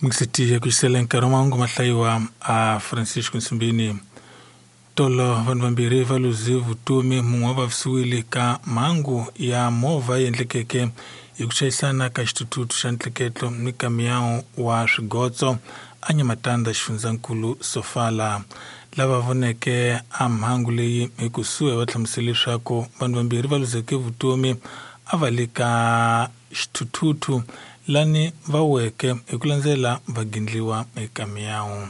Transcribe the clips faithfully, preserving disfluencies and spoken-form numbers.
Mixitiya ku xisela nkarhi wa mahungu mahlayiwa a Francisco Nsumbini. Tolo vanhu vambirhi va luze vutomi, mun'we wa vavisiwile ka mhangu ya movha yi endlekeke hi ku chayisana ka xithuthuthu xa ntleketlo ni kamiyawu wa swigotso a Nyamatanda xifundzankulu Sofala. Lava voneke a mhangu leyi hi kusuhi va hlamusele leswaku vanhu vambirhi va luzeke vutomi a va le ka xithuthuthu lani va weke hi ku landzela va gindliwa eka miyawu.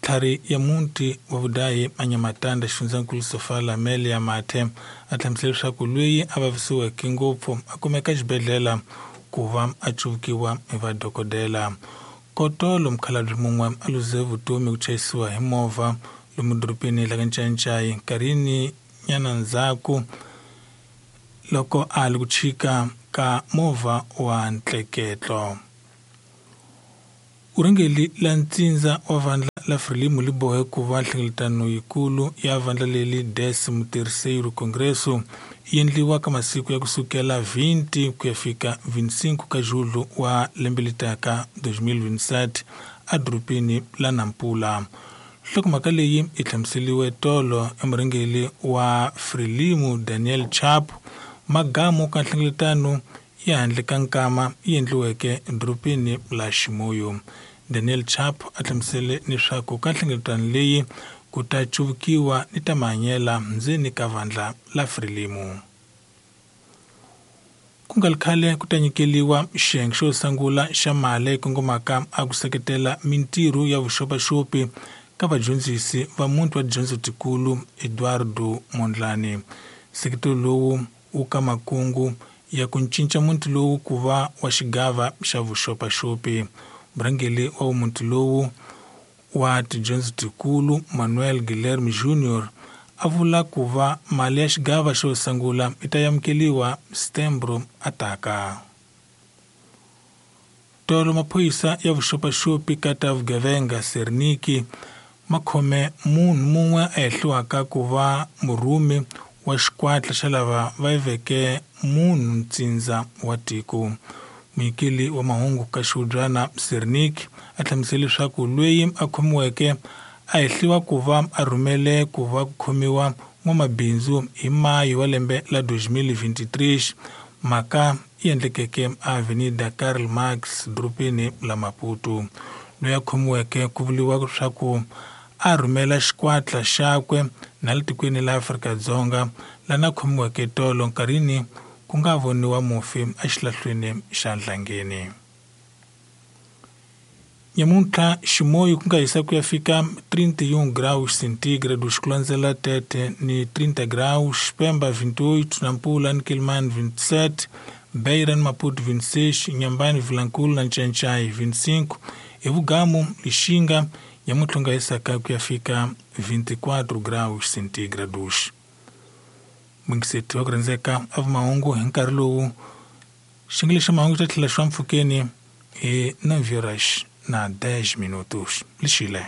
Tlhari ya muti wa vudayi a Nyamatanda xifundzankulu Sofala Melia Mathe a hlamusele leswaku loyi a vavisiweke ngopfu a kumeka xibedhlele ku va a cuvukiwa hi vadokodela. Kotolo mukhalabye mun'we a luze vutomi ku chayisiwa hi movha lomu dorobeni la ka Ncayicayi nkarhini nyana ndzhaku loko a li ku chika ka movha wa ntleketlo. Urhengeli la ntsindza wa vandla la Frelimo li bohe ku va nhlengeletano yikulu ya vandla leli décimo terceiro Congresso yi endliwa ka masiku ya kusukela vinte ku ya fika vinte e cinco ka julho wa lembe letaka dois mil vinte e sete edorobeni la Nampula. Nhlokomhaka leyi yi hlamuseriwe tolo emurhengeli wa Frelimo Daniel Chapo magamu ka nhlengeletano ya handle ka nkama yi endliweke edorobeni la Chimoio. Daniel Chapo a hlamusele leswaku ka nhlengeletano leyi ku ta cuvukiwa ni ta mahanyela ndzeni ka vandla la Frelimo. Ku nga ri khale ku ta nyikeliwa xiyenge xo sungula xa mali kongomaka a ku seketela mintirho ya vuxopaxopi ka vadyondzisi va muti wa tidyondzo tikulu Eduardo Mondlane. Nseketelo lowu wu ka makungu ya ku cinca muti lowu ku va wa xigava xa vuxopaxopi. Murhangeri wa muti lowu wa tidyondzo tikulu Manuel Guilherme Junior a vula ku va mali ya xigava xo sungula yi ta amukeriwa Setembro ataka. Tolo maphorisa ya vuxopaxopi ka ta vugevenga Serniki ma khome munhu mun'we a hehliwaka ku va murhumi wa xikwatla xa lava va yiveke munhu ntsindza wa tiko. Munyikeli wa mahungu ka xihubyana Sernik a hlamusele leswaku loyi a khomiweke a hehliwa ku va a rhumele ku va ku khomiwa n'wamabindzu hi Mayi wa lembe la dois mil vinte e três, mhaka yi endlekeke Avenida Karl Marx dorobeni la Maputo. Loyi a khomiweke ku vuriwa leswaku a rhumela xikwatla xakwe na le tikweni la Afrika-Dzonga lana khomiweke tolo nkarhini ku nga voniwa mufi exilahlweni xa Nhlangeni. Nyamuntlha Chimoio ku nga hisa ku ya fika trinta e um graus centígrados, ku landzela Tete ni trinta graus, Pemba vinte e oito, Nampula ni Quelimane vinte e sete, Beira ni Maputo vinte e seis, Inhambane, Vilankulo na Ncancai vinte e cinco, Evugamu, Lixinga nyamuntlha ku nga hisaka ku ya fika vinte e quatro graus centígrados. Mungiseti wa ku rhandzeka a vumahungu hi nkarhi lowu xingele xa mahungu xa tlhela xi va mpfhukeni hi nove horas na dez minutos. Lixile.